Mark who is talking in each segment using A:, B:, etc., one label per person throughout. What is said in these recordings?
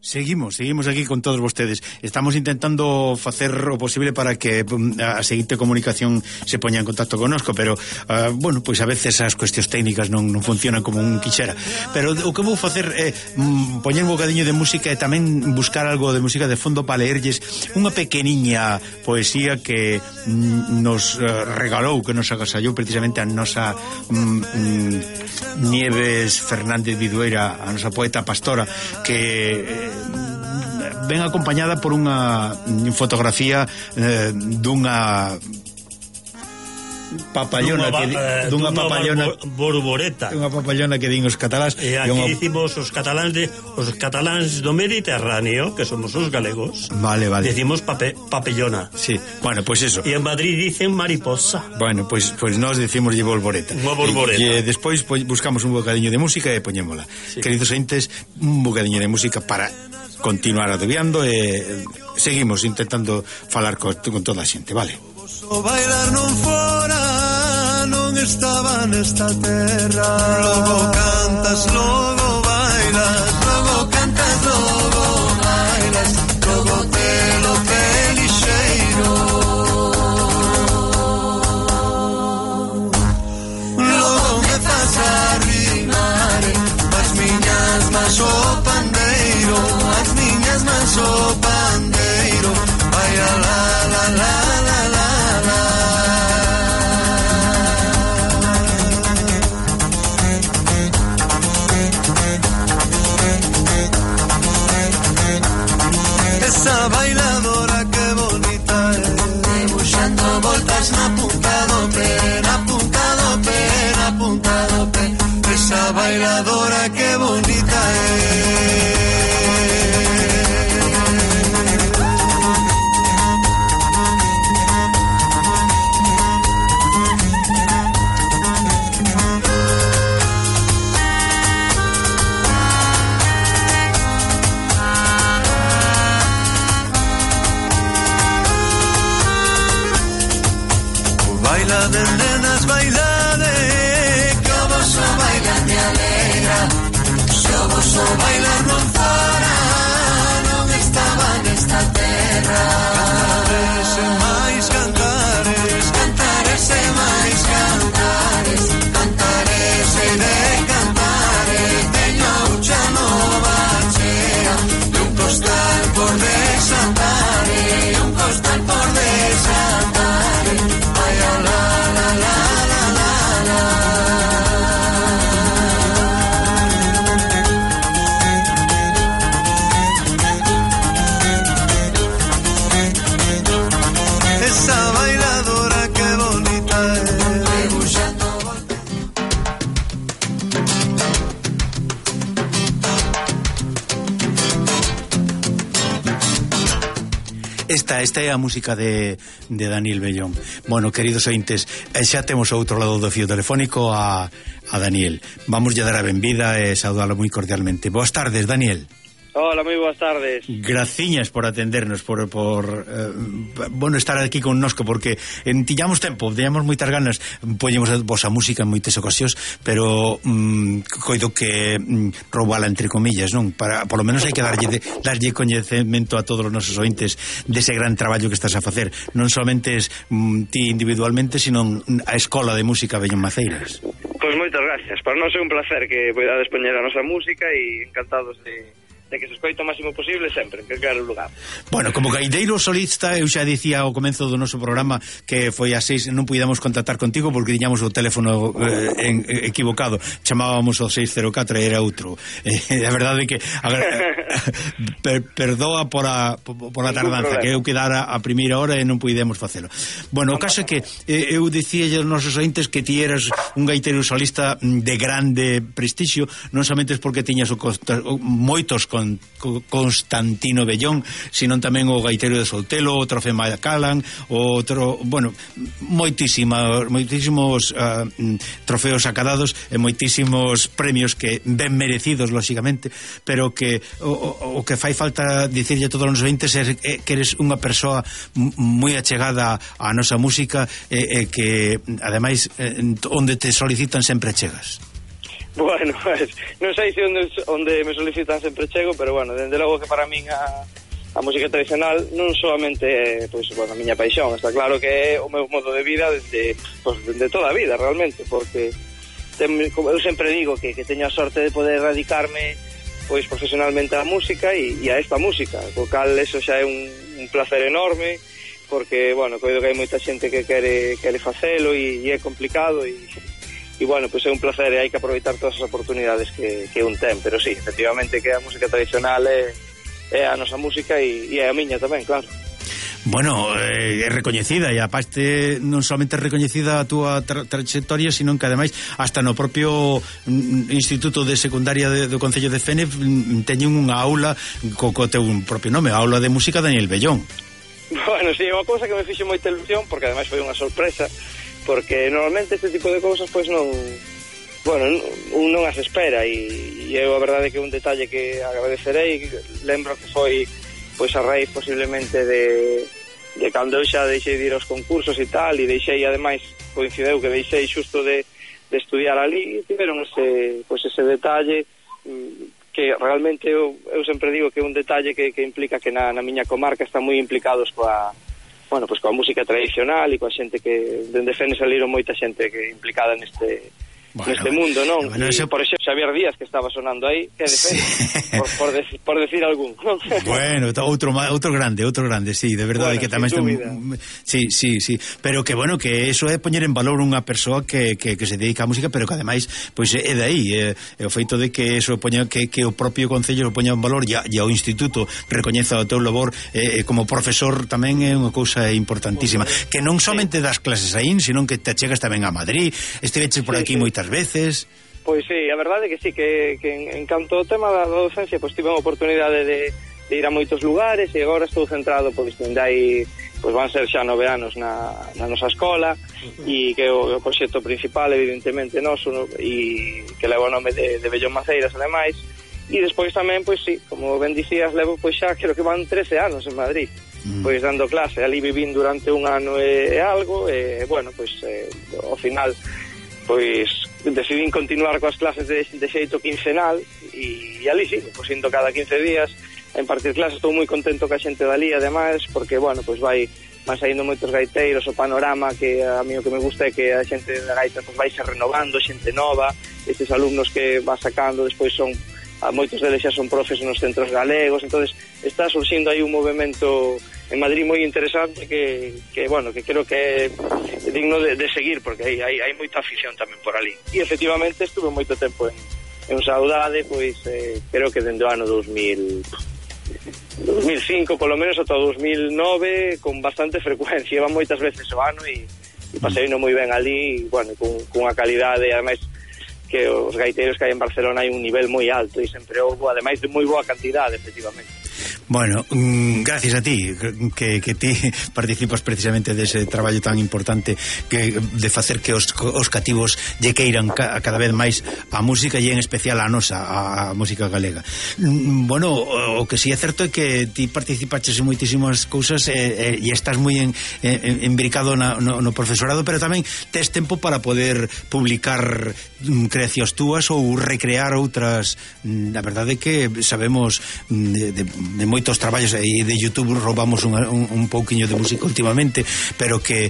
A: Seguimos aquí con todos vostedes. Estamos intentando facer o posible para que a seguinte comunicación se poña en contacto connosco, pero, bueno, pois a veces as cuestións técnicas non funcionan como un quixera. Pero o que vou facer é poñer un bocadiño de música e tamén buscar algo de música de fondo para leerlles unha pequeniña poesía que nos regalou, que nos agasallou precisamente a nosa Nieves Fernández Vidueira, a nosa poeta pastora, que ven acompañada por unha fotografía dunha papallona dunha papallona
B: borboreta.
A: Unha papallona que din os cataláns.
B: E aquí dicimos os cataláns do Mediterráneo, que somos os galegos.
A: Vale.
B: Decimos papellona.
A: Sí. Bueno, pues eso.
B: E en Madrid dicen mariposa.
A: Bueno, pues nós decimos borboreta.
B: Unha borboreta.
A: E despois buscamos un bocadiño de música e poñémola. Sí. Queridos ointes, un bocadiño de música para continuar adobiando e seguimos intentando falar con toda a xente, vale?
C: O bailar non fora, non estaba nesta terra. Logo cantas, logo bailas, logo cantas, logo bailas, logo telo pelixeiro. Logo me faz arrimar as miñas mans o pandeiro, as miñas mans o pandeiro. Vai a la la la la la. Esa bailadora que bonita é, debuxando voltas na punta do pé, na punta do pé, na punta do pé. Esa bailadora que bonita é. Baila de nenas, bailade, que o vosso bailar me alegra. Se o vosso bailar non fora, non estaba nesta terra. Cantares e máis cantares, cantares e máis cantares, cantares e de cantares. Teño a ucha nova chea, e un costal por desatar, e un costal por desatar. Esa bailadora que bonita es, debuxando volta.
A: Esta é a música de Daniel Bellón. Bueno, queridos ointes, xa temos ao outro lado do fío telefónico a Daniel. Vamos a dar a benvida e saudalo moi cordialmente. Boas tardes, Daniel.
D: Hola, moi boas tardes.
A: Graciñas por atendernos, por bueno, estar aquí connosco, porque tiñamos tempo, tiñamos moitas ganas, poñemos a vosa música en moitas ocasións, pero coido que roubala entre comillas, non? Para, por lo menos hai que darlle coñecemento a todos os nosos ointes dese gran traballo que estás a facer, non somente ti individualmente, sino a Escola de Música Bellón Maceiras.
D: Pois moitas gracias, para nós é un placer que poidades poñer a nosa música e encantados de que se escoite o máximo posible sempre, en calquer lugar.
A: Bueno, como gaiteiro solista, eu xa dicía ao comezo do noso programa que foi a 6, non puidamos contactar contigo porque tiñamos o teléfono equivocado, chamábamos o 604 e era outro. A verdade é que perdoa por a tardanza, que eu quedara a primeira hora e non puidemos facelo. Bueno, o caso é que eu dicía aos nosos ointes que ti eras un gaiteiro solista de grande prestixio, non somente porque tiñas moitos con Constantino Bellón, sino tamén o gaiteiro de Soltelo, o Trofeo Macallan, outro, bueno, moitísimos trofeos acadados e moitísimos premios que ben merecidos, lóxicamente, pero que o que fai falta dicirlle a todos os ointes é que eres unha persoa moi achegada á nosa música e que, ademais, onde te solicitan sempre chegas.
D: Bueno, pues, non sei se onde me solicitan sempre chego, pero bueno, dende logo que para min a música tradicional non solamente pois, bueno, a miña paixón, está claro que é o meu modo de vida desde toda a vida realmente, porque eu sempre digo que teño a sorte de poder dedicarme pois profesionalmente á música e a esta música, co cal eso xa é un placer enorme, porque, bueno, coido que hai moita xente que quere facelo e é complicado e bueno, pois é un placer e hai que aproveitar todas as oportunidades que un ten, pero sí, efectivamente que a música tradicional é a nosa música e é a miña tamén, claro.
A: Bueno, é recoñecida e aparte non somente é recoñecida a túa trayectoria, sino que ademais hasta no propio Instituto de Secundaria do Concello de Fene teñen unha aula co teu propio nome, a aula de música Daniel Bellón.
D: Bueno, sí, é unha cousa que me fixe moita ilusión, porque ademais foi unha sorpresa, porque normalmente este tipo de cousas pois non, bueno, non as espera e eu a verdade que é un detalle que agradecerei. Lembro que foi pois a raíz posiblemente de cando eu xa deixei de ir aos concursos e tal, e deixei, ademais, coincideu que deixei xusto de estudiar ali, e tiveron ese detalle que realmente eu sempre digo que é un detalle que implica que na miña comarca están moi implicados coa música tradicional e coa xente que dende Fene saliron moita xente que implicada neste mundo, non?
A: Bueno,
D: por exemplo, Xavier Díaz, que estaba sonando aí, que é de Fene, por decir algún.
A: Bueno, outro grande, sí, de verdade, bueno, que tamén sí, pero que bueno, que eso é poñer en valor unha persoa que se dedica á música, pero que ademais, pois é de aí, o feito de que eso poña que o propio concello poña en valor e o instituto recoñeza o teu labor como profesor tamén é unha cousa importantísima, que non somente das clases aí, sino que te chegas tamén a Madrid, estiveches por aquí moitas veces.
D: Pois sí, a verdade é que sí, que en canto ao tema da docencia, pois tive a oportunidade de ir a moitos lugares e agora estou centrado, pois dai, pois van ser xa 9 anos na nosa escola e que o proxecto principal evidentemente noso e que leva o nome de Bellón Maceiras ademais, e despois tamén, pois sí, como ben dicías, levo pois xa creo que van 13 anos en Madrid, pois dando clase, ali vivín durante un ano e algo, e bueno, pois ao final pois decidín continuar coas clases de xeito quincenal e ali sí, pois indo cada 15 días a impartir clases. Estou moi contento ca xente dali ademais, porque bueno, pois van saindo moitos gaiteiros, o panorama que a mí o que me gusta é que a xente da gaita pois vai se renovando, xente nova, estes alumnos que va sacando despois son, moitos deles xa son profes nos centros galegos, entonces está surxindo aí un movimento en Madrid moi interesante que bueno, que creo que é digno de seguir, porque hai moita afición tamén por ali. E efectivamente estuve moito tempo en Saudade, pois creo que dende o ano 2005 polo menos ata 2009 con bastante frecuencia, iban moitas veces o ano e paseino moi ben ali, bueno, cunha calidade, ademais que os gaiteiros que hai en Barcelona hai un nivel moi alto e sempre houve, ademais de moi boa cantidade, efectivamente.
A: Bueno, gracias a ti que ti participas precisamente dese traballo tan importante de facer que os cativos lle queiran cada vez máis a música e en especial a nosa, a música galega. Bueno, o que si é certo é que ti participaches en moitísimas cousas e estás moi embricado no profesorado, pero tamén tes tempo para poder publicar creacións túas ou recrear outras. A verdade é que sabemos de moitos traballos e de YouTube roubamos un pouquiño de música últimamente, pero que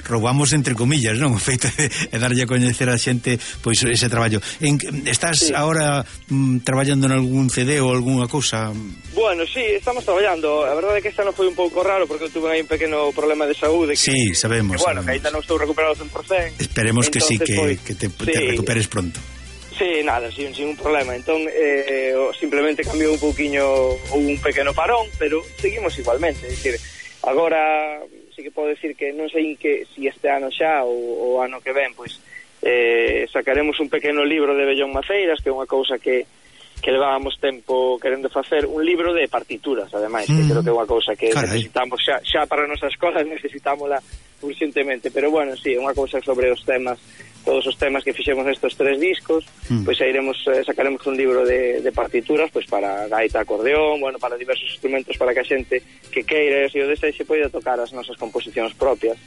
A: roubamos entre comillas, non? O feito de darlle a coñecer a xente pois ese traballo. Estás agora traballando en algún CD ou algunha cousa?
D: Bueno, sí, estamos traballando. A verdade é que esta non foi un pouco raro porque eu tuve aí un pequeno problema de saúde
A: sí, sabemos.
D: Bueno, que ainda non estou recuperado 100%.
A: Esperemos que sí, que te recuperes pronto.
D: Sí, nada, sin un problema. Entón, simplemente cambiou un pouquiño ou un pequeno parón, pero seguimos igualmente. É dicir, agora sí que podo decir que non sei si este ano xa ou ano que ven, pois sacaremos un pequeno libro de Bellón Maceiras, que é unha cousa que levábamos tempo querendo facer, un libro de partituras, ademais, que creo que é unha cousa que necesitamos xa para a nosa escola, necesitámola urgentemente, pero bueno, sí, é unha cousa sobre os temas, todos os temas que fixemos nestes 3 discos, pois sacaremos un libro de partituras, pois para gaita, acordeón, bueno, para diversos instrumentos, para que a xente que queira e o desexe poida tocar as nosas composicións propias.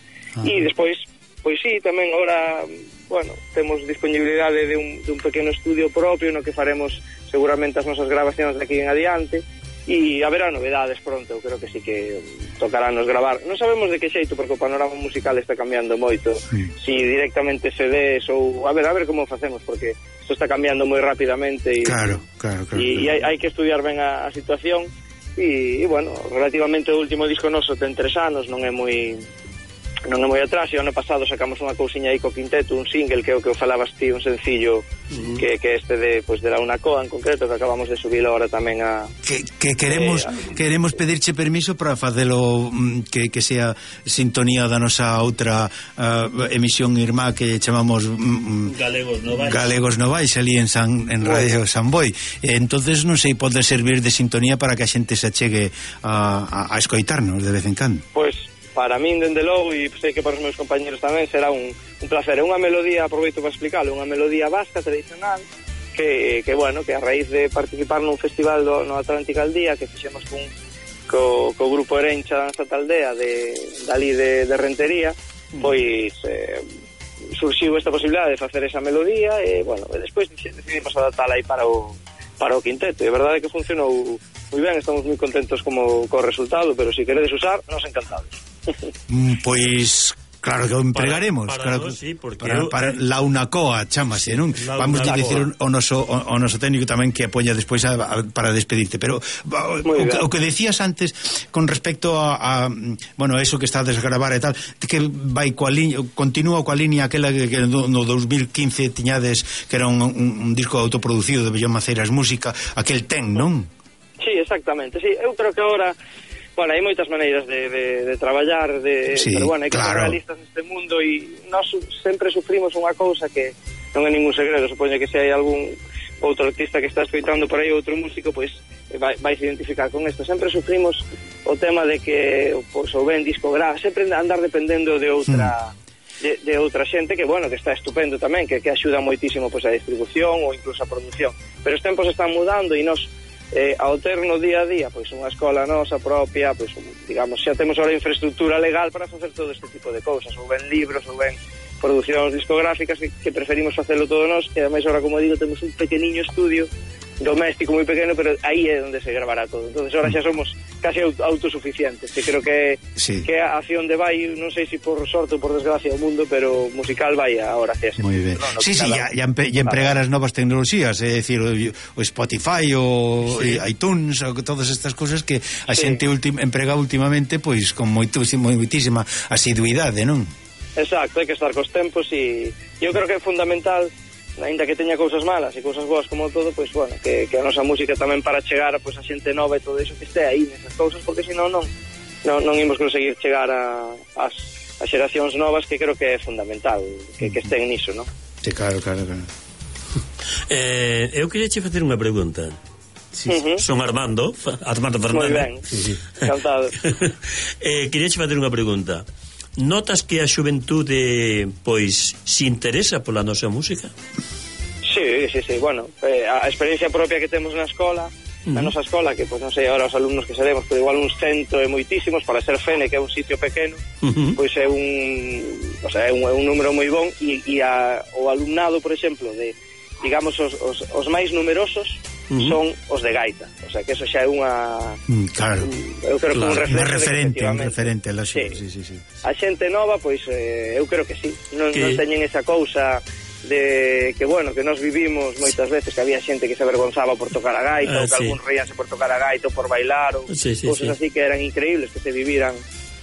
D: E despois Pois sí, tamén agora, bueno, temos disponibilidade de un pequeno estudio propio no que faremos seguramente as nosas grabacións de aquí en adiante, e haberá novedades pronto. Eu creo que sí que tocarános gravar. Non sabemos de que xeito, porque o panorama musical está cambiando moito. Si directamente CDs ou... A ver como facemos, porque isto está cambiando moi rapidamente e
A: claro.
D: E hai que estudiar ben a situación. E bueno, relativamente o último disco noso ten 3 anos, non é moi atrás, e o ano pasado sacamos unha cousiña aí co quinteto, un single que é o que falabas ti, un sencillo que este de la Unacoa en concreto, que acabamos de subir ahora tamén a...
A: Que queremos pedirche permiso para facelo que sea sintonía da nosa outra emisión irmá que chamamos Galegos Novais ali en Radio San Boi. Entonces non sei, pode servir de sintonía para que a xente se achegue a escoitarnos de vez en cando.
D: Pois para min, dende logo, e sei que para os meus compañeros tamén será un placer. É unha melodía, aproveito para explicarlo, unha melodía vasca tradicional que bueno, que a raíz de participar nun festival no Atlántico al Día que fixemos co grupo Erencha da Santa Aldea dali de Rentería, pois surxiu esta posibilidade de facer esa melodía e bueno, despois decidimos adaptala aí para o quinteto, e a verdade é que funcionou moi ben, estamos moi contentos co resultado, pero se queredes usar, nos encantados.
A: Pois claro que o empregaremos para la Unacoa, chámase, non? Vamos a dicir o noso técnico tamén que apoia despois para despedirte, pero o que decías antes con respecto a bueno, eso que está a desgravar e tal, que vai coa liña, continúa coa liña aquela que no 2015 tiñades que era un disco autoproducido de Bellón Maceiras Música, aquel ten, non?
D: Sí, exactamente, sí, eu creo que agora bueno, hai moitas maneiras de traballar, pero bueno, hai que ser realistas neste mundo, e nós sempre sufrimos unha cousa que non é ningún segredo, supoño que se hai algún outro artista que está escoitando por aí, outro músico, pois vai se identificar con isto. Sempre sufrimos o tema de que pois, o ben discográfico, sempre andar dependendo de outra de outra xente que, bueno, que está estupendo tamén, que axuda moitísimo pois a distribución ou incluso a produción, pero os tempos están mudando e nós ao ter no día a día pois unha escola nosa propia, pois digamos, xa temos ahora infraestructura legal para facer todo este tipo de cousas, ou ben libros, ou ben producións discográficas que preferimos facelo todo nós, e ademais ahora, como digo, temos un pequeniño estudio doméstico moi pequeno, pero aí é onde se gravará todo. Entonces ahora xa somos casi autosuficientes, que creo que que a acción de vai, non sei se por sorte ou por desgracia o mundo, pero musical vai ahora hacia ese.
A: Moi ben. No, sí, ya empregar as novas tecnoloxías, é dicir, o Spotify, o iTunes, o todas estas cousas que a xente emprega últimamente pois con moitísima asiduidade, non?
D: Exacto, hai que estar cos tempos, e eu creo que é fundamental, ainda que teña cousas malas e cousas boas como todo, pois bueno, que a nosa música tamén para chegar pois a xente nova e todo iso que este aí nesas cousas, porque senón non imos conseguir chegar as xeracións novas, que creo que é fundamental que estén niso, non?
A: Sí, claro.
B: Eu queria che facer unha pregunta. Son Armando Fernández.
D: Moi ben, encantado.
B: Queria che facer unha pregunta. Notas que a xuventude pois se interesa pola nosa música?
D: Sí, bueno, a experiencia propia que temos na escola, na nosa escola, que pois non sei agora os alumnos que seremos, pero igual uns 100 e moitísimos, para ser Fene, que é un sitio pequeno, pois é un número moi bon, e o alumnado, por exemplo, de digamos os máis numerosos son os de gaita, o sea que eso xa é unha eu creo que un referente lógico, sí. A xente nova, pois eu creo que sí, non teñen esa cousa de que, bueno, que nos vivimos moitas veces, que había xente que se avergonzaba por tocar a gaita, ou que algún reíanse por tocar a gaita ou por bailar, ou cousas así que eran increíbles que se viviran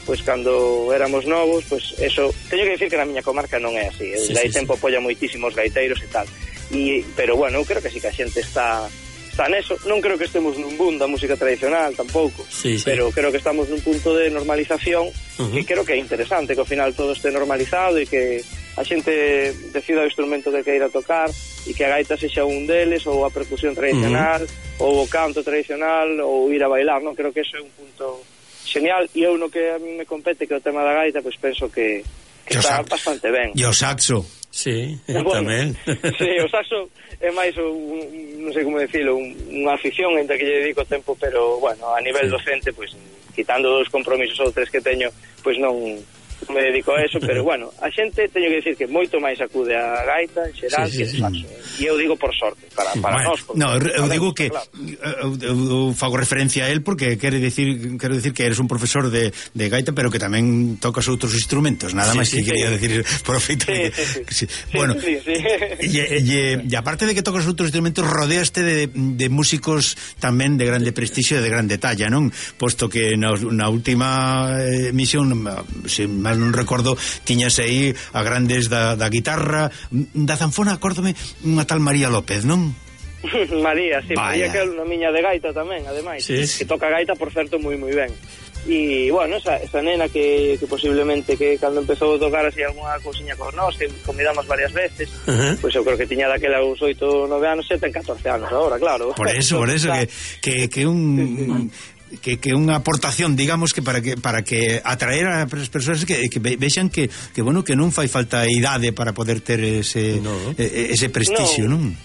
D: pois cando éramos novos. Pois eso, teño que dicir que na miña comarca non é así, dai tempo apoia moitísimos gaiteiros e tal, pero bueno, eu creo que sí que a xente está neso. Non creo que estemos nun boom da música tradicional tampouco, pero creo que estamos nun punto de normalización que creo que é interesante, que ao final todo este normalizado e que a xente decida o instrumento que queira tocar e que a gaita sexa un deles, ou a percusión tradicional, ou o canto tradicional, ou ir a bailar, non? Creo que eso é un punto genial, e eu no que a mí me compete, que é o tema da gaita, pois penso que está bastante ben.
A: E o saxo?
B: Sí,
A: tamén.
D: Sí, o saxo é máis non sei como decirlo, unha afición entre que lle dedico tempo, pero bueno, a nivel docente, pois quitando 2 compromisos ou 3 que teño, pois non me dedico a eso, pero bueno, a xente teño que decir que moito máis acude a gaita en xeral que saxo. E eu digo por sorte, para nós.
A: No, eu digo que eu fago referencia a él porque quero dicir que eres un profesor de gaita, pero que tamén tocas outros instrumentos, nada máis que quería decir profeito. Bueno, e aparte de que tocas outros instrumentos, rodeaste de músicos tamén de grande prestixio e de grande talla, non? Posto que na última emisión, se mal non recordo, tiñas aí a grandes da guitarra, da zanfona, acórdome, unha tal María López, non?
D: María, sí, María, que é unha miña de gaita tamén, ademais, que toca gaita, por certo, moi ben. E, bueno, esa nena que posiblemente que cando empezou a tocar así alguna cousiña con nós, que convidamos varias veces, pois eu creo que tiña daquela uns 8 ou 9 anos, xa ten 14 anos agora, claro. Por eso
A: que un... que unha aportación, digamos, que para que atraer a as persoas que vexan que bueno, que non fai falta idade para poder ter ese prestixio, non?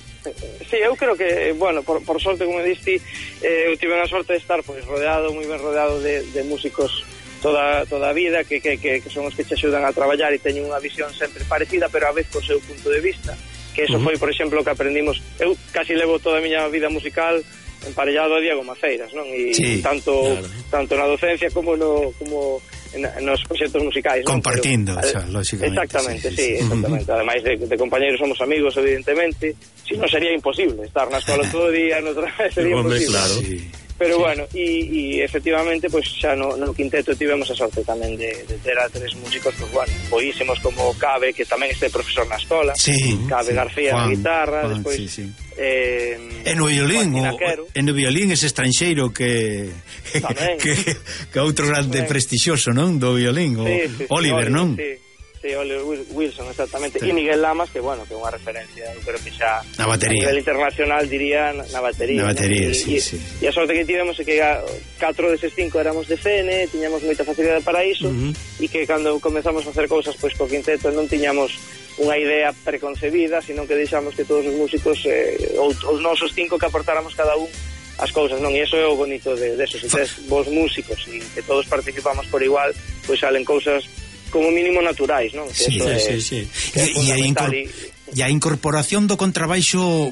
D: Sí, eu creo que, bueno, por sorte, como diste, eu tive a sorte de estar moi ben rodeado de músicos toda a vida, que son os que te axudan a traballar e teñen unha visión sempre parecida, pero a vez co seu punto de vista, que eso foi, por exemplo, que aprendimos. Eu casi levo toda a miña vida musical emparellado a Diego Maceiras, non? E tanto na docencia como nos proxectos musicais, non?
A: Compartindo, lógicamente.
D: Exactamente, sí, exactamente. Ademais de compañeros somos amigos, evidentemente. Si non sería imposible estar na escola todo o día, sería imposible.
B: Claro.
D: Pero bueno, e efectivamente, pues xa no quinteto tivemos a sorte tamén de ter a 3 músicos, pues bueno, boísimos, como Cabe, que tamén este profesor na escola, Cabe García na guitarra, despois
A: en o violín ese estranxeiro que outro grande prestixioso, non? Do violín, Oliver, non?
D: Sí, Oliver Wilson, exactamente. E Miguel Lamas, que bueno, que é unha referencia, eu creo que xa
A: na batería, a
D: nivel internacional, diría, na batería. E a sorte que tivemos é que 4 deses 5 éramos de CN, tiñamos moita facilidade para iso, e que cando comezamos a facer cousas pois co quinteto non tiñamos unha idea preconcebida, sino que deixamos que todos os músicos, os nosos 5, que aportáramos cada un as cousas, non? E iso é o bonito de eso, se tes vos músicos e que todos participamos por igual, pois salen cousas como mínimo naturais, non?
A: Sí. E a incorporación do contrabaixo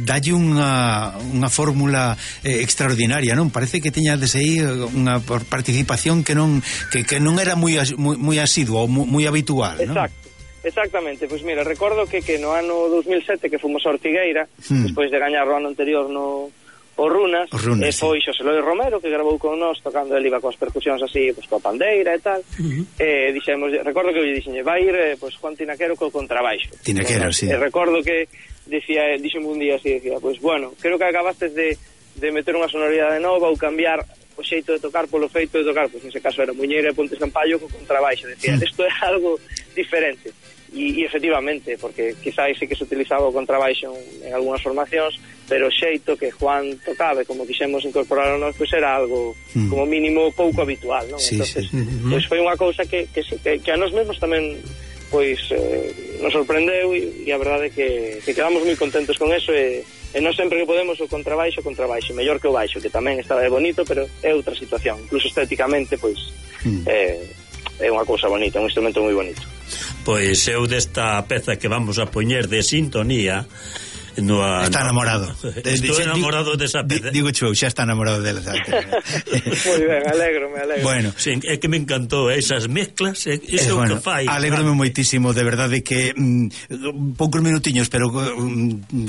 A: dalle unha fórmula extraordinaria, non? Parece que teñades aí unha participación que non era moi asidua ou moi habitual, non?
D: Exactamente, pois mira, recordo que no ano 2007 que fomos a Ortigueira, despois de gañar o ano anterior o Runas, foi Xosé Loi Romero, que grabou con nós tocando, ele iba coas percusións así, pues, coa pandeira e tal, recordo que eu dixenlle, vai ir Juan Tinaquero co contrabaixo.
A: Tinaquero, sí.
D: Recordo que dixeme un día así, pues bueno, creo que acabastes de meter unha sonoridade nova ou cambiar o xeito de tocar polo feito de tocar, pues nese caso era Muñeira e Ponte Sampaio co contrabaixo, decía, isto é algo diferente. E efectivamente, porque quizás sí que se utilizaba o contrabaixo en algunhas formacións, pero o xeito que Juan tocaba, como quixemos incorporar a nós, pois era algo como mínimo pouco habitual, non? Entonces, pois foi unha cousa que a nós mesmos tamén pois nos sorprendeu e a verdade é que quedamos moi contentos con eso e non sempre que podemos o contrabaixo, mellor que o baixo, que tamén está bonito, pero é outra situación, incluso estéticamente, pois é unha cousa bonita, un instrumento moi bonito.
B: Pois eu desta peza que vamos a poñer de sintonía está
A: enamorado.
B: Estou enamorado desa peza.
A: Digo eu, xa está enamorado dela.
D: Moi ben, alegro.
A: Bueno,
B: sí, é que me encantou esas mezclas, iso que fai.
A: Alégrome moitísimo, de verdade que poucos minutiños, pero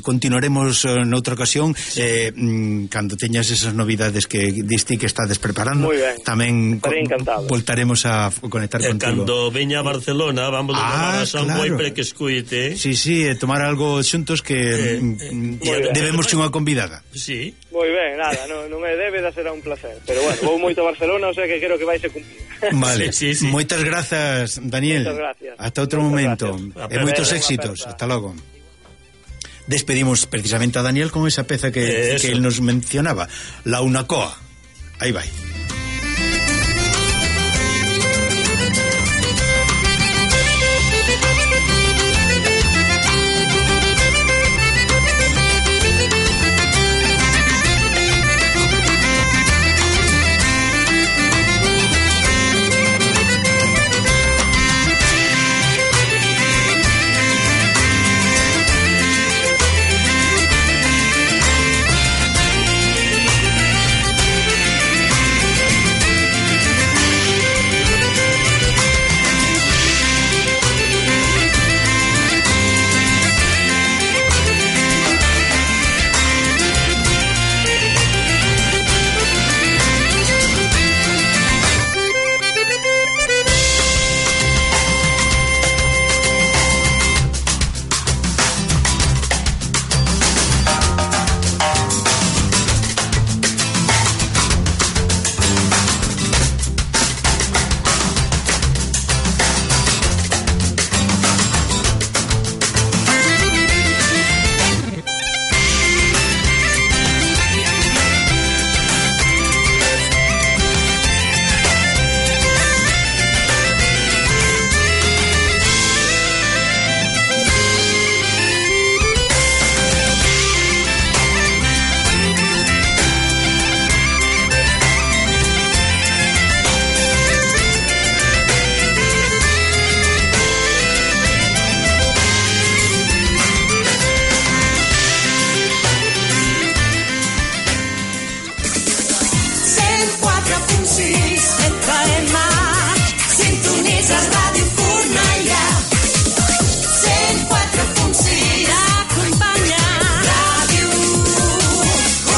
A: continuaremos noutra ocasión, cando teñas esas novidades que diste que estades preparando. Tamén voltaremos a conectar contigo.
B: Cando veña a Barcelona, vamos a tomar a San Boi para que escuite.
A: Sí, tomar algo xuntos que debemos unha convidada.
B: Sí.
D: Moi ben, nada, non é débeda, será un placer. Pero bueno, vou moito a Barcelona, o sea que creo que vai se cumplir.
A: Vale, sí. Moitas grazas, Daniel.
D: Moitas gracias.
A: Hasta outro momento. E moitos éxitos. Hasta logo. Despedimos precisamente a Daniel con esa peza que él nos mencionaba, La Unacoa. Aí vai.